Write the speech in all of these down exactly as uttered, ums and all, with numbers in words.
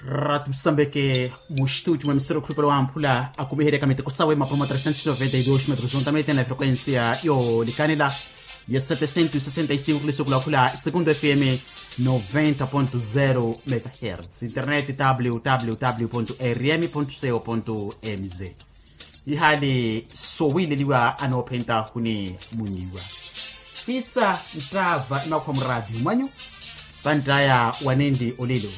Ratu musambeke, mustuti mwa emisero khulupale wamphula akumiheryaka miteko sawe mapuro ma trecentos noventa y dos metros ontamete na frequencia yoolikanela ya setecento sesenta y cinco kuliso kulakhula segundo fm noventa ponto zero megahertz internet www rm co mz. Ihaali sowiileliwa anoophenta huni munyiwa siisa nttaava imakhuwa muraati mwanyu. Panttaya wanenli olelo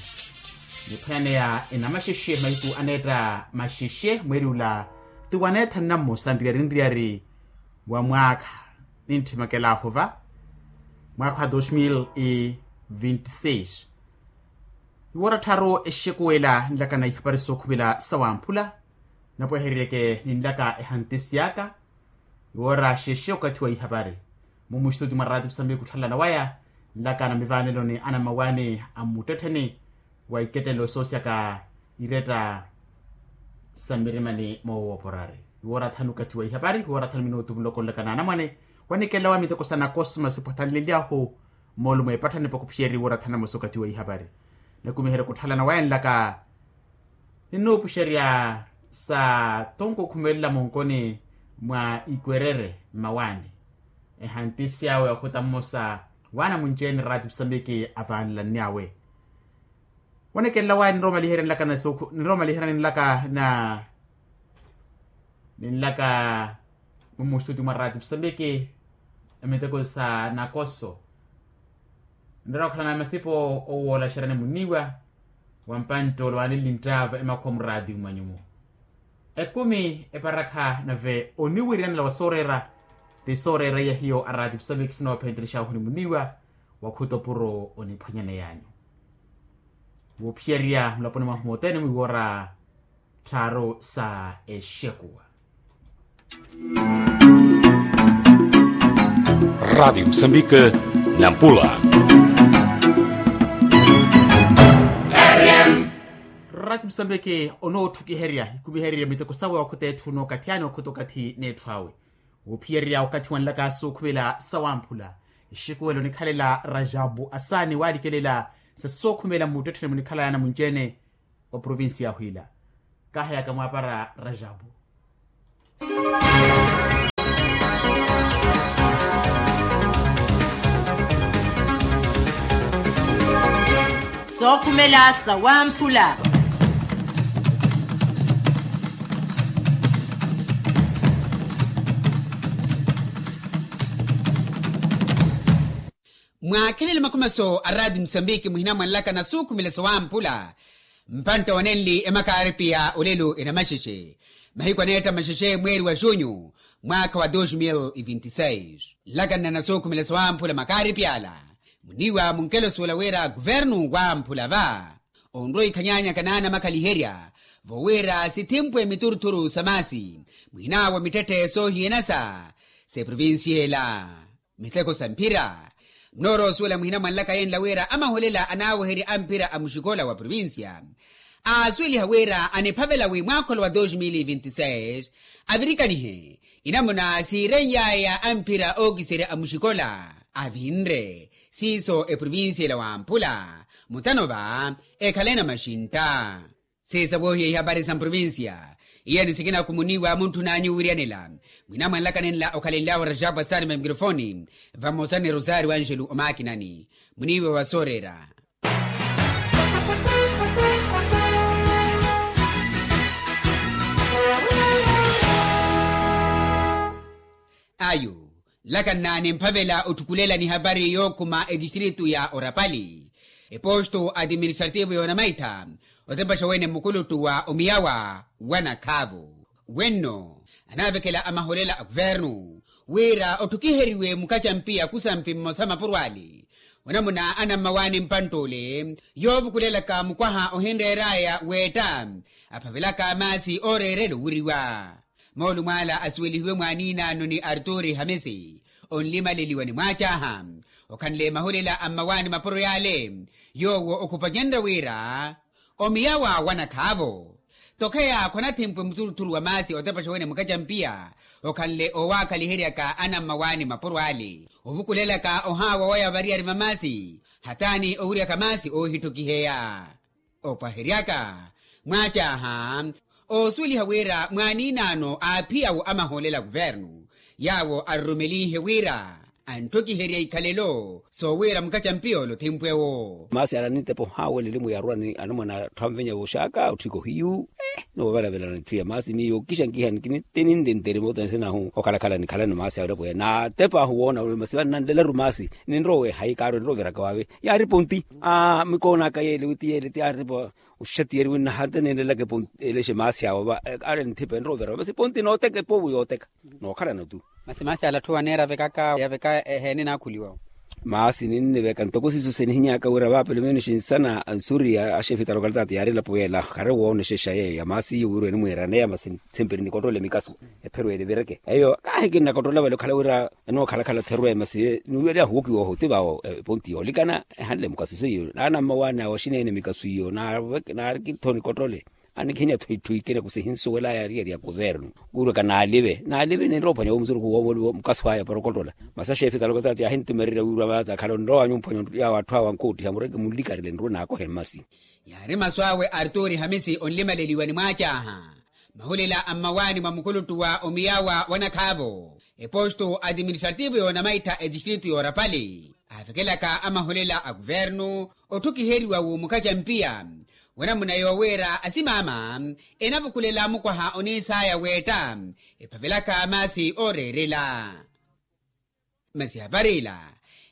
niphwananeya enamaxexe mahiku aneetta maxexe mweeri ula ti waneethanna mmosa nriyari nriyari wa mwaakha nintthimakalahu va mwaakha wa dos mil vinti seis. Iwoora tthaaru exekuwela nlaka na ihapari sookhumela sawamphula napwehereryeke ninlaka ehantisi aka. Iwoora xexe okathi wa ihapari mumuxituti mwa raati musambiki khutthalana waya nlaka na mivaaneloni anammawaani a mmuttettheni wa ikettelelo soosyaka iretta sa mmirimani moowooporari. Iwoora thanu okathi wa ihapari iwoora thanu minutu muloko nlaka na anamwane wanikela wa miteko sa nakosima sipwatthanlelyahu moolumo epatthani pakhuphixeri iwoora thanu amosa okathi wa ihapari nakumiherya khutthalana waya nlaka ninnuupuxerya sa tonko okhumelela monkoni mwa ikwerere mmawaani. Ehantisi awe okhuta mmosa waana munci-ene raati musambiki avaanelannyawe wanekelela waya ninrowa omaliherya nlaka na sookhu ninrowa omaliherya ninlaka na ninlaka mumustuti mwa raati musambiki emiteko sa nakoso. Nrowa okhalana masipo owoolaxeryani muniwa wa mpanttolo waanenli nttaava emakhuwa muraati mmwanyumu ekumi eparakha nave oniwiriyanela wa sooreera ti sooreera iya hiyo araati musambiki sinoophentelexahu ni muniwa wakhuta opuro oniphwanyaneyanyu. Woophiyerya mulaponi mwahu mothene mwiiwoora tthaaru sa exekuwa. Raatiyo musambiki nampula. Raatiyo musambiki onoothukiherya ikumihererya miteko sawe okhuta etthu nookathi ani okhuta okathi n'etthu awe. Woophiyererya okathi wanlaka sookhumela sawamphula exekuwelo nikhalela rajabu asaani waalikelela sa sookhumela mmuttettheni munikhalaya namunci-ene wa provincia ya hwiila. Kaaheyaka mwaapara rajabu. Sookhumela sawamphula. Mwaakhelele makhumaso a raati musambiki muhina mwanlaka na suukhumela sawamphula. Mpantta wanenli emakaaripiya olelo enamaxexe mahiku aneetta maxexe mweeri wa junyu mwaakha wa dos mil vinti seis. Nlakanna na suukhumela sawamphula makaaripiya ala muniiwa munkelosuwela wira kuvernu wamphula va onrowa ikhanyanyaka naanamakhaliherya vowira sithimpwe miturthuru sa maasi mwinaawo mittetthe soohiyanasa s'eprovincia ela. Miteko sa mphira mnoorosuwela muhina mwanlaka yenla wira amaholela anaaweherya amphira a muxikola wa provincia aasuweliha wira aniphavela wi mwaakholo wa dos mil vinti seis avirikanihe inamuna siireny'aya amphira ookiserya a muxikola avinre siiso eprovincia ela wamphula mutano va ekhale na maxintta. Siisa woohiya ihapari sa mprovincia iya ni sikina khumuniiwa muntthuna anyu owiryanela mwina mwanlaka nenla okhalenlyahu rajabu asaani ma mikrofoni vamosa ni rosario angelo omaakinani muniiwa wa sooreera. Ayu nlakanna nimphavela otthukulela nihapari yookhuma etistritu ya orapali eposto administrativo yoonamaittha otepaxa wene mukuluttu wa omiyawa wa nakhaavo wenno anaavekela amaholela a kuvernu wira otthukiheriwe mukacampiya kusampi mmosa mapuro ale onamuna anammawaani mpantt'ole yoovukulelaka mukwaha ohinreer'aya weetta aphavelaka maasi ooreerela owiriwa. Moolumo ala asuwelihiwe mwaaniinano ni arturi hamisi onlimaleliwa ni mwaacaha okhanle mahulela a mmawaani mapuro yaale yoowo okhupacenrya wira omiyawa wa nakhaavo tokheya khwanathimpwe muturuturu wa maasi otepaxa wene mukacampiya okhanle oowaakhaliheryaka anammawaani mapuro ale ovukulelaka ohaawa waya variyari va maasi hataani owiryaka maasi oohitthukiheya. Opwaheryaka mwacaaha, oosuweliha wira mwaaniinaano aaphiyawo amahoolela a kuvernu yaawo arurumelihe wira antthokiherya ikhalelo soowira mukacampiya ole othimpwewo. Maasi ala nintepa ohaawelela elimu yaarwa ni anamwane atthu anvenya vooxaaka otthika ohiyu. Noovalavelana etthu ya maasi miyo kixa nkiha nikinitini ntinterima otanse nahu okhalakhala nikhalani maasi awira pweya naatepaahu woona masi vannanlelaru maasi. Ninrowe hayi kaaro ninroviraka waave. Yaari ponti. Mikoonaka yeele witi yeele ti aaripa oxatiyeri winnaha nte ninlelaka eponti elexe maasi awo va. Aari nithipa enroverwa masi ponti nooteka epovu yooteka nookhalana tu. Masi maasi ala atthu waneera avekaka yaveka eheene naakhuliwa. Maasi ninniveka ntoko siiso sinihinyaka wira vaapelo menos nsana ansuri ya axefe talokalitati yaari elapo yeela khari woonoxexa yeeyo ya maasi iyo wirwe nimwiiraneya masi ntsemperi nikottola emikaso. Epherweele vireke eyo kaahi kinnakottola vale okhala wira enookhalakhala therwe masi niwiyaliha huwokiwa oho ti vawo eponti yoolikana ehanle mikaso seiyo naana mmawaani awo axineene mikaso iyo naarikitho nikottole. Anikhinya thwitthu ikina kusihinsuwelaya ariyari ya kuvernu. Kuurweka naalive naalive ninrophwanya wo musuruku woovoliwa mukaso aya para okottola masi axefe talokalitati yaahintumererya wirwa vaatsa akhala onrowa nyumphwanya yaawo atthu awo ankoottiha mureke munlikarile nruwe naakohe mmasi. Yaari masu awe arturi hamisi onlimaleliwa ni mwaacaaha mahulela a mmawaani mwa mukuluttu wa omiyawa wa nakhaavo eposto administrativo yoonamaittha etistritu yoorapali aavekelaka amahulela a kuvernu otthukiheriwa wu mukacampiya. Wanamuna yoowira asimaama enavukulela mukwaha oniisaya weetta ephavelaka maasi ooreerela. Masi yaparila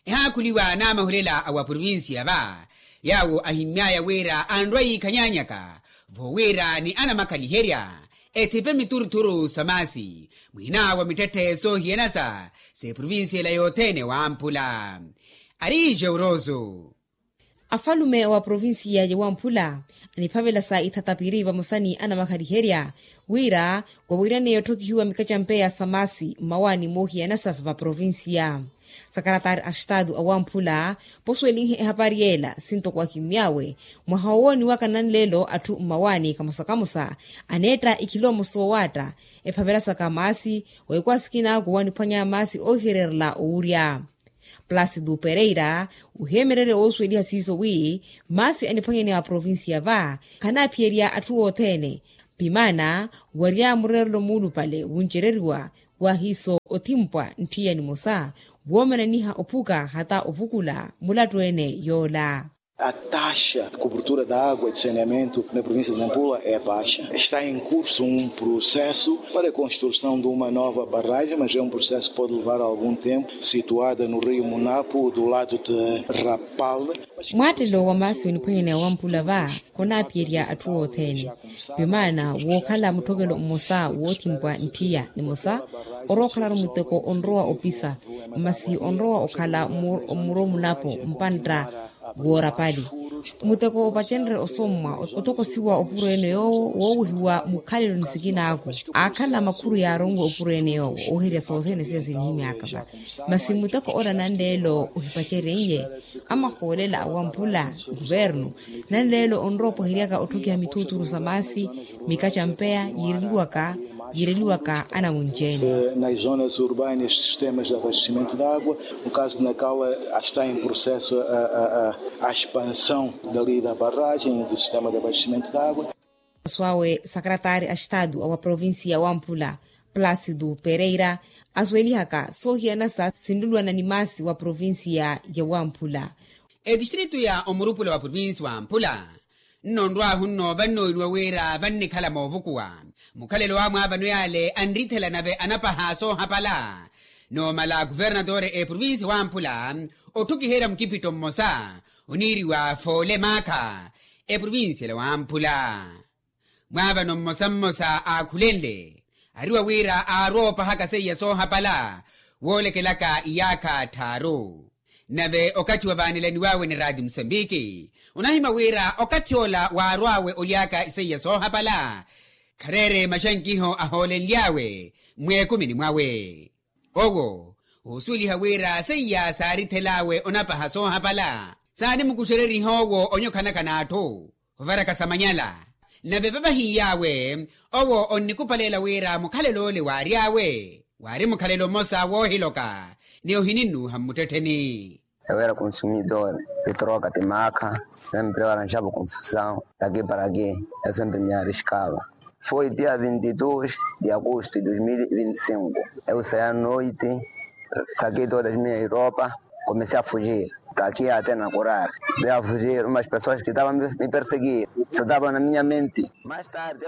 ehaakhuliwa n'amahulela a wa provincia va yaawo ahimmyaya wira anrwa yiikhanyanyaka voowira ni anamakhaliherya ethipe mituruthuru sa maasi mwiinaawo mittetthe soohiyanasa s'eprovincia ela yothene wamphula. Ari jeuroso. Afalume wa provincia ya wamphula aniphavela sa ithatapiri vamosa ni anamakhaliherya wira wawiiraneya otthokihiwa mikacampeya sa maasi mmawaani moohiyanasa va provincia. Sakaratari a estatu a wamphula posuwelinhe ehapari yeela sinto kwakimy'awe mwaha wowooniwaka nanleelo atthu mmawaani kamosa kamosa aneetta ikhilomo soowaatta ephavelasaka maasi. Weekwaasikina kuwaniphwanya maasi oohihererela owurya. Placido pereira oheemererya woosuweliha siiso wi maasi aniphwanyaneya wa provincia va khanaaphiyerya atthu othene. Pimaana warya mureerelo muulupale wuncereriwa waahiiso othimpwa ntthiya nimosa woomananiha ophuka hata ovukula mulattu-ene yoola. A taxa de cobertura da água de saneamento na província de nampula é baixa está em curso um processo para a construção de uma nova barragem mas é um processo que pode levar algum tempo situada no rio munapo do lado de rapal. Mwaattelo wa maasi oniphwanyaneya wamphula va khonaaphiyerya atthu othene. Pimaana wookhala mutthokelo mmosa woothimpwa ntthiya nimosa orowa okhalaru muteko onrowa opisa masi onrowa okhala mmuro munapo mpantta woorapali. Muteko opacenrye osommwa otokosiwa opuro ene yoowo woowehiwa mukhalelo ni sikinaaku aakhala makhuru yaaronwe opuro ene yoowo ooherya sothene siya sinihimyaka va. Masi muteko ola nanleelo ohipacereiye amahoolela a wamphula nkuvernu nanleelo onrowa opwaheryaka otthokiha mithuuthuru sa maasi mikacampeya yiireliwaka yiireliwaka anawunci-ene. Nas zonas urbanas sistemas de abastecimento de água no caso de nacal está em processo a expansão dali da barragem do sistema de abastecimento de água. Masu awe sakaratari a estatu a wa provincia ya wamphula placido pereira asuwelihaka soohiyanasa sinlulwana ni maasi wa provincia ya wamphula. Etistritu ya omurupula wa provincia wamphula nnonrw'ahu nnoova nnooniwa wira vannikhala moovukuwa mukhalelo wa mwaavano yaale anrithela nave anapaha soohapala. Noomala kuvernatore eprovincia wamphula otthukiherya mukipitto mmosa oniiriwa foole maakha eprovincia ela wamphula. Mwaavano mmosa mmosa aakhulenle ariwa wira aarwa oopahaka seiya soohapala woolekelaka iyaakha tthaaru. Nave okathi wa vaanelaniw'awe ni raati musambiki onahimya wira okathi ola waarw'awe oly'aka iseiya soohapala khareere maxankiho ahoolenly'awe mweekumini mwawe. Owo oosuweliha wira seiya saarithel'awe onapaha soohapala saanimukuxereriha owo onyokhanaka n'atthu ovaraka sa manyala. Nave vavahiy'awe owo onnikupaleela wira mukhalelo ole waary'awe waari mukhalelo mmosa woohiloka ni ohininnuuha mmuttettheni. Eu era consumidor de troca de maca, sempre eu arranjava confusão daqui para aqui, eu sempre me arriscava. Foi dia vinte e dois de agosto de dois mil e vinte e cinco. Eu saí à noite, saquei todas as minhas roupas, comecei a fugir daqui até na Curare. Comecei a fugir, umas pessoas que estavam me, me perseguir, só estavam na minha mente.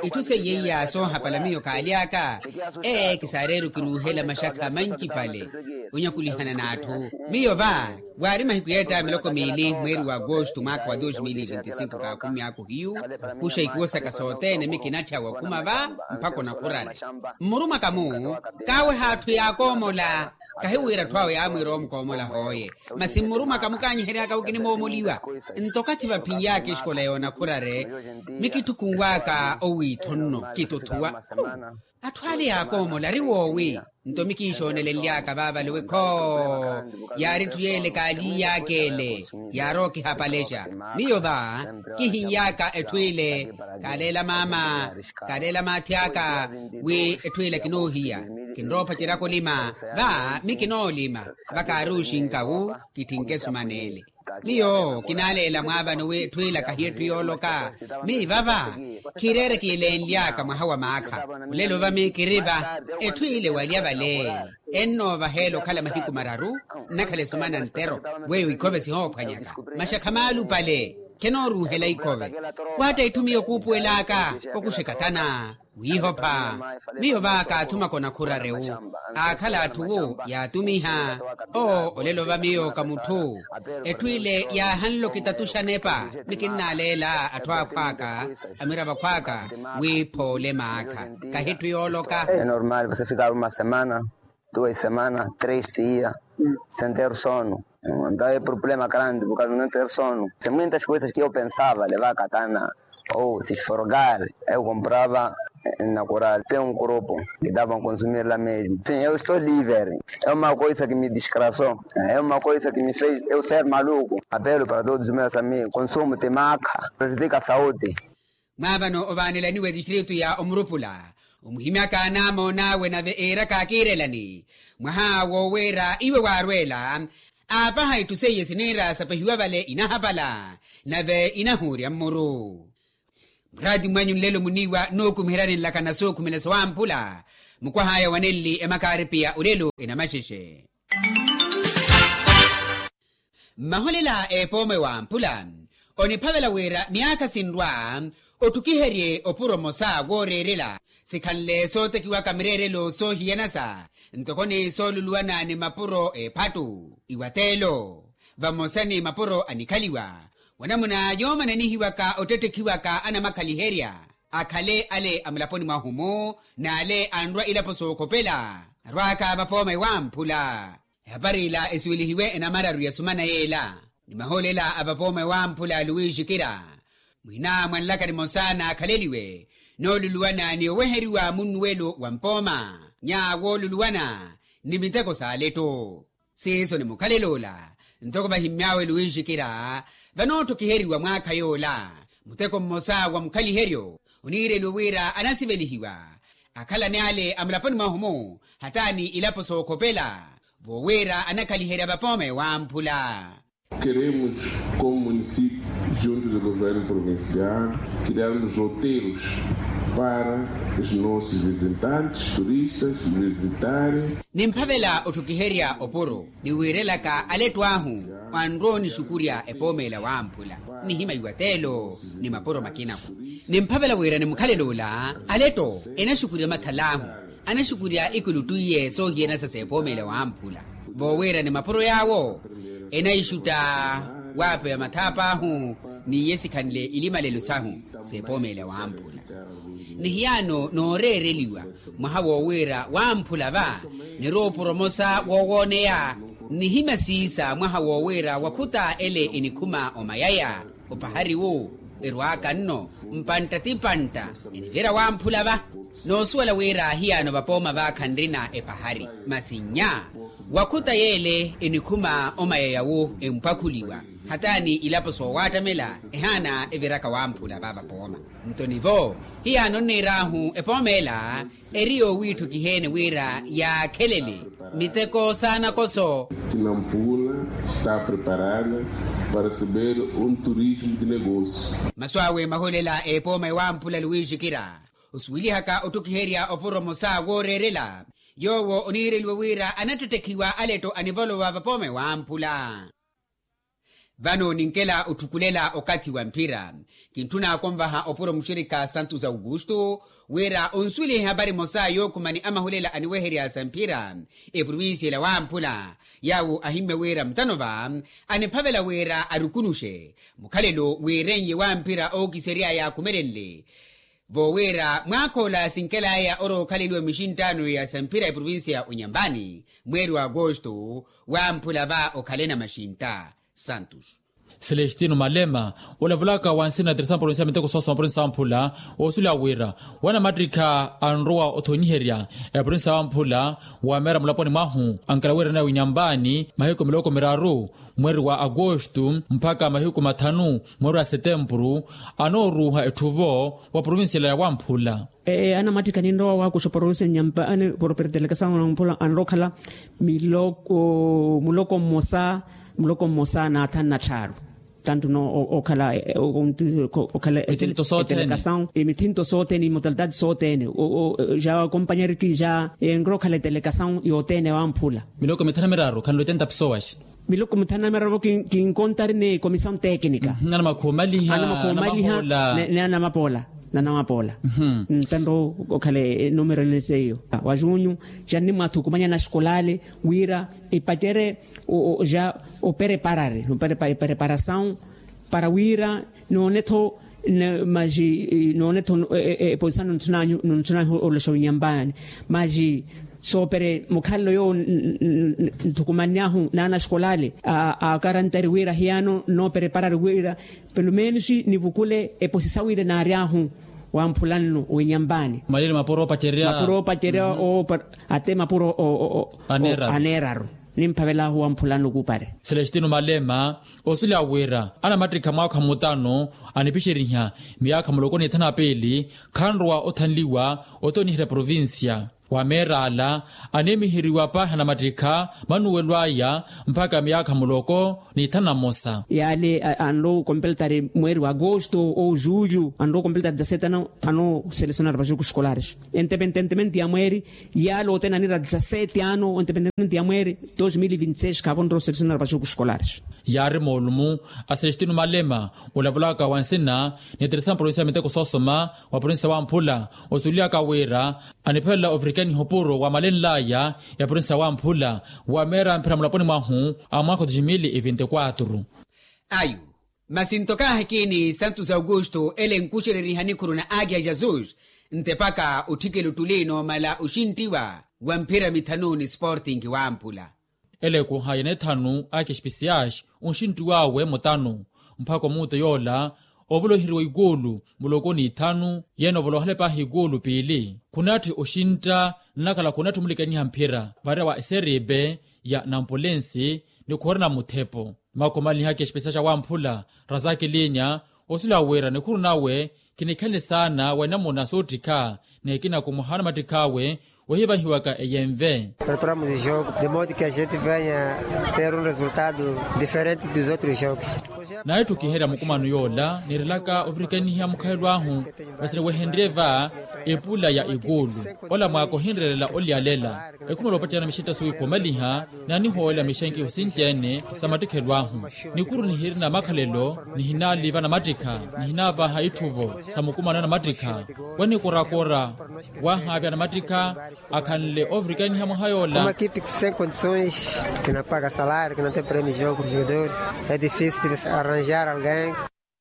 Itthu seiye iya soohapala miyo kaaly'aka. Ee kisaareru kiruuhela maxakha mancipale onyakulihana n'atthu. Miyo va waari mahiku yeetta miloko miili mweeri wa agosto mwaakha wa dos mil e vinte e cinco kaakhumi ako hiyu. Okuxa ikuwo saka sothene mikinatthya wakhuma va mpakha onakhurari. Mmurumaka-mu kaaweha atthu yaakoomola. Kahiwira atthu awo yaamwiira omukoomola hooye. Masi mmurumaka mukaanyiheryaka wi kinimoomoliwa. Nto okathi vaphin'yaka exikola yoonakhurare mikitthukun'waka owiitho nno kituthuwa. Atthu ale yaakoomola ari woowi? Nto mikiixoonelenly'aka vaavale wi khoo yaari etthu yeele kaaliiy'aka ele. Yaarowa okihapalexa miyo va kihin'yaka etthu ile. Kaaleela maama kaaleela maathi aka wi etthu ile kinoohiya. Kinrowa ophaceryaka olima va mikinoolima. Vakaaruxinka wu kitthinke sumana ele. Miyo kinaaleela mwaavano wi etthu ila kahiya etthu yooloka. Miivava khiireere kiilenly'aka mwaha wa maakha. Olelo va mikiri va etthu ile walya vale. Ennoovaheela okhala mahiku mararu nnakhala esumana ntero. Weyo ikhove sihoophwanyaka maxakha maalupale. Khenooruuhela ikhove. Waatta itthu miyo kuupuwel'aka okuxeka tana wiihopha. Miyo va kaathumaka onakhurare wu aakhala atthu wu yaatumiha. Oo olelo va miyo ka mutthu. Etthu ile yaahanle okitatuxa nepa. Mikinnaaleela atthu akhw'aka amiravo akhw'aka wi phoole maakha kahi etthu yooloka. É normal você ficar uma semana, duas semanas, três dias sem ter sono. Então é problema grande por causa de não ter sono. São muitas coisas que eu pensava levar katana ou se esfregar. Eu comprava na Coral, tem um grupo que davam a consumir lá mesmo. Sim, eu estou livre. É uma coisa que me desgraçou. É uma coisa que me fez eu ser maluco. Apelo para todos os meus amigos: consumo de maca prejudica a saúde. Mwaavano ovaanelaniwa etistritu ya omurupula omuhimyaka namoon'awe nave eeraka akiirelani. Mwaha wooweera iwe waarweela aapaha itthu seiye siniira sapehiwa vale inahapala nave inahuurya mmuru. Muraati mwanyu nlelo muniiwa nookumiheryani nlakana sookhumela sowamphula. Mukwah'aya wa nenli emakaaripiya olelo enamaxexe. Mmaholela epooma ewamphula oniphavela wira myaakha sinrwa otthukiherye opuro mmosa wooreerela. Sikhanle sootekiwaka mireerelo soohiyanasa ntoko ni sooluluwana ni mapuro eephattu. Iwateelo vamosa ni mapuro anikhaliwa wanamuna yoomananihiwaka ottettekhiwaka anamakhaliherya akhale ale a mulaponi mwahu-mu n'ale anrwa ilapo sookhopela. Arw'aka vapooma ewamphula. Ehapari ila esiwelihiwe enamararu ya sumana yeela ni mahoolela a vapooma ewamphula luwixikira. Mwiina mwa nlaka nimosa naakhaleliwe nooluluwana ni oweheriwa munnuwelo wa mpooma nyaawooluluwana ni miteko s'aletto. Siiso ni mukhalel'ola ntoko vahimmy'awe luwixikira vanootthukiheriwa mwaakha yoola. Muteko mmosa wa mukhaliheryo oniireliwe wira anasivelihiwa akhalani ale a mulaponi mwahu-mu hataani ilapo sookhopela voowira anakhaliherya vapooma ewamphula. Keremos, como município, junto do governo provincial, criarmos roteiros para os nossos visitantes, turistas visitarem. Nimphavela otthukiherya opuro ni wiirelaka aletto ahu anrowa onixukurya epoomela wamphula. Nihima iwateelo ni mapuro makinaku nimphavela wira ni mukhalel'ula aletto enaxukurya mathal'ahu anaxukurya ikulutu iye soohiyanasa s'epoomela wamphula. Voowira ni mapuro yaawo enaixutta waapeya mathaapo ahu n'iye sikhanle ilimalelo sahu s'epoomela wamphula. Nihiyaano nooreereliwa mwaha woowira wamphula va nirowa opuro mmosa woowooneya. Nihima siisa mwaha woowira wakhuta ele enikhuma omayaya opahari wu erw'aka nno mpantta ti mpantta enivira wamphula va. Noosuwela wira hiyaano vapooma va khanrina epahari masi nnya wakhuta yeele enikhuma omayaya wu empwakhuliwa hataani ilapo soowaattamela ehaana eviraka wamphula va vapooma. Nto nivo hiyaano nniir'ahu epooma ela eri yoowiitthukiheene wira yaakhelele miteko saanakoso. Kinampula Está preparada para receber um turismo de negócio. Masu awe mahulela epooma ewamphula luwiixikira osuwilihaka otthukiherya opuro mosa wooreerela yoowo oniireliwe wira anattettekhiwa aletto anivolowa vapooma ewamphula. Vano ninkela otthukulela okathi wa mphira. Kintthuna konvaha opuro muxirikha santos augusto wira onsuwelihe hapari mosa yookhumani amahulela aniweherya sa mphira eprovincia ela wamphula. Yaawo ahimmye wira mutano va aniphavela wira arukunuxe mukhalelo wiiren'ye wa mphira ookisery'aya akhumelenle. Vo wira mwaakha ola sinkel'aya orowa okhaleliwa mixinttano ya sa mphira eprovincia ya onyambani mweeri wa agosto wamphula va okhalena maxintta. Santos. Celestino malema olavulaka wa nsina ya tersampuro nsia miteko soosa mapurinsa wamphula oosula wira wanamattikha anrowa othonyiherya epurinsa wamphula wameera mulaponi mwahu ankela wiirana winyambani mahiku miloko miraru mweeri wa agosto mpakha mahiku mathanu mweeri wa setempuru anooruuha etthuvo wa provincia ela ya wamphula. Anamattikha ninrowa wakuxa provincia nyampani property delegasaw wamphula anrowa okhala miloko muloko mmosa muloko mmosa na athanu na tthaaru. Tantu no okhala okhala mithinto soothene mithinto soothene imodalidade soothene ja kompanyariki ja enrowa okhala edelegasaw yothene wamphula. Miloko mithanu na miraru khanlo etenta pesowaxi. Miloko mithanu na miraru kinkontari ni komisaw tekinika. Anamakha omaliha ni anamapoola. Nanamapoola. Tanto okhale enumero ene seiyo wa junyu ja nnimwathukumanya naxikolale wira epacerye ja opereparare opereparasaw para wira noone-tho maji noone-tho eposisa nontthunanyu nontthunanyu oloxa winyambani maji soopere mukhalelo yoowo nthukumannyahu naanaxikolale akarantari wira hiyano noopereparari wira pelumenus nivukule eposisa wira naary'ahu wamphula nno winyambani. Malile mapuro opacerya ate mapuro aneeraru nimphavel'ahu wamphula nno kuupare. Celestino malema osuleya wira anamattikha mwaakha mutano anipixeriha miyaakha muloko ni ithanu na piili khanrowa othanliwa othoniherya provincia. Wameer'ala aneemiheriwa paahi anamattikha manuwelo aya mpakha miyaakha muloko ni ithanu na mmosa. Yaale anrowa okompeltari mweeri wa agosto ou julho anrowa okompeltari dezasete ano anooselesonari vajoku escolares entepententemente ya mweeri yaale othene anira dezasete ano entepententemente ya mweeri dos mil vinti seis khaavo onrowa oselesonari vajoku escolares. Yaari moolumu a celestino malema olavulaka wa nsina ni ateresa provincia ya miteko soosoma wa provincia wamphula osuweliyaka wira aniphelela ovirikaniha opuro wamalenl'aya ya provincia wamphula wameera mphira mulaponi mwahu a mwaakha wa dos mil e vinti quatro. Ayu masi ntokaahi kiini santos augusto ele nkuxereriha nikhuru na agia jesus ntepaka otthikela ottuli noomala oxinttiwa wa mphira mithanu ni sporting wamphula. Ele ekuha ya nethanu aki especiais onxinttiw'awe mutanu mpakha omuuto yoola ovoloheriwa ikuulu muloko ni ithanu yeene ovolohale paahi ikuulu piili khunatthi oxintta nnakhala khunatthi omulikaniha mphira varewa eseripe ya nampulensi ni khurina muthepo. Makhomaliha kexipesa xa wamphula razaki linya osuleya wira nikhuru nawe khinikhanle saana wa enamuna soottikha ni ekina kumuhaana mattikh'awe ohivahiwaka eyenve. Preparamos o jogo de modo que a gente venha ter um resultado diferente dos outros jogos. Naye etthu kiherya mukumano yoola niirelaka ovirikaniha mukhalelo ahu masi niwehenrye va epula ya ikuulu ola mwaaka ohinreerela olyalela ekhumela opacerya mixintta sowikhomaliha ni anihoolela mixenkiho sinci-ene sa mattikhelo ahu. Nikuru nihirina makhalelo nihinaaliva namattikha nihinaavaha itthuvo sa mukumano ya namattikha wanikorakora wahaavya namattikha akhanle ovirikaniha mwaha yoola. Uma equipe que sem condições que não paga salário que não tem prémio jogo para os jogadores é difícil de arranjar alguém.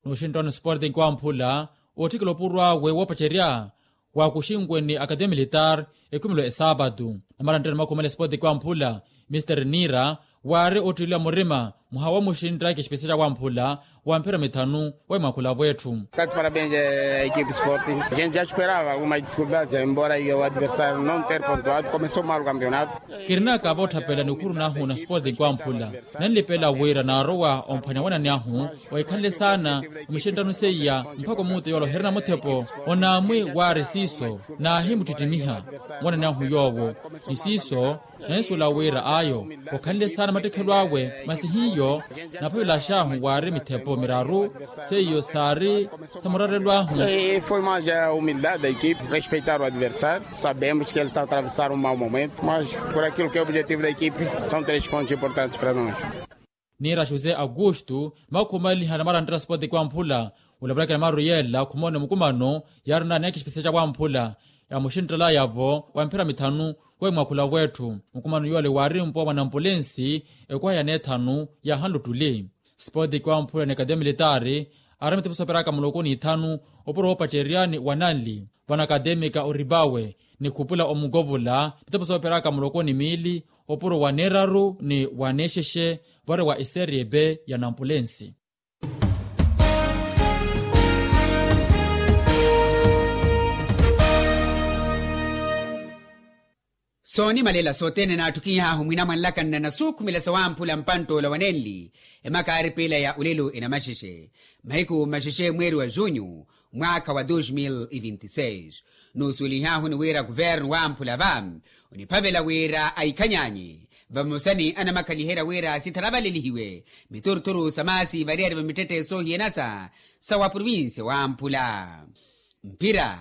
Nooxinttano sporting wamphula ootthikela opuro awe woopacerya waakuxinwe ni academia militar ekhumelo esaapatu. Namaranttheni makhumela sporting wamphula mister nira waari ottiliwa murima mwaha wa muxintta kexipesera wamphula wa mphira mithanu wa imwakhula avo etthu. Tati parabens a equipe sporting gente ja esperava algumas dificuldades embora o adversário não ter pontuado começou mal o campeonato. Kirinaka vootthapela nikhuru nahu na sporting wamphula nanlipela wira naarowa omphwanya wanani ahu waikhanle saana omixenttano seiya mpakha omuuto yoola oherina muthepo onaamwi waari siiso naahimuttittimiha wanani ahu yoowo ni siiso nansuwela wira ayo okhanle saana mattikhelo awe masi hiyo. Naphavelaxahu waari mithepo miraru seiyo saari samurarelo ahu. Foi mais a humildade da equipe respeitar o adversário. Sabemos que ele está a atravessar um mau momento, mas por aquilo que é o objetivo da equipe, são três pontos importantes para nós. Niira josé augusto makhumalihana maranttera sport kwamphula. Olavulakela maru yeela khumone mukumano yaari naneekha exipesiya ca wamphula. Yamuxinttelaya-vo wa mphira mithanu. Wemwakhula wetthu mukumano yoole waari mpuwa mwa nampulensi. Ekuwa ya neethanu yaahanluttuli. Sipoti kiwamphula ni akademia militaari aari mitepo sooperaka muloko ni ithanu. Opuro woopacerya ni wananli vano akademia ka oribawe ni khupula omukovula mitepo sooperaka muloko ni miili. Opuro wa neeraru ni wa neexexe vori wa iserie b ya nampulensi. Soonimalela sothene naatthukihahu mwinamwanlaka nnanasuukhumela sawamphula mpanttoola wanenli. Emaka aari piila ya olelo enamaxexe mahiku mmaxexe mweeri wa junyu mwaakha wa dos mil e vinti seis. Nuusuwelihahu ni wira kuvernu wamphula va oniphavela wira aikhanyaanyi vamosa ni anamakhaliherya wira sitharavalelihiwe mituruturu sa maasi variyari va mittetthe soohiyanasa sa wa provincia wamphula. Mphira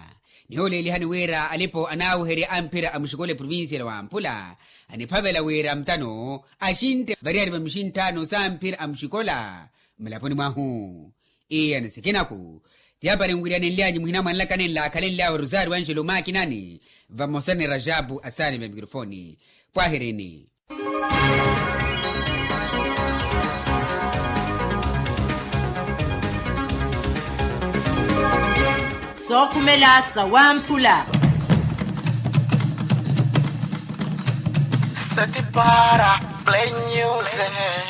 nihoolelihani wira alipo anaaweherya a mphira a muxikola eprovincia la wamphula aniphavela wira mutano axintte variyari va muxinttano sa mphira a muxikola. Mulaponi mwahu iya ni sikinaku ti apari nwiryanenlyanyu muhina mwanlakani nlaakhalenlyawe rosario angelo makinani vamosa ni rajabu asaani va mikirofoni. Pwahirini. Sookhumela sawamphula. Sati para play music.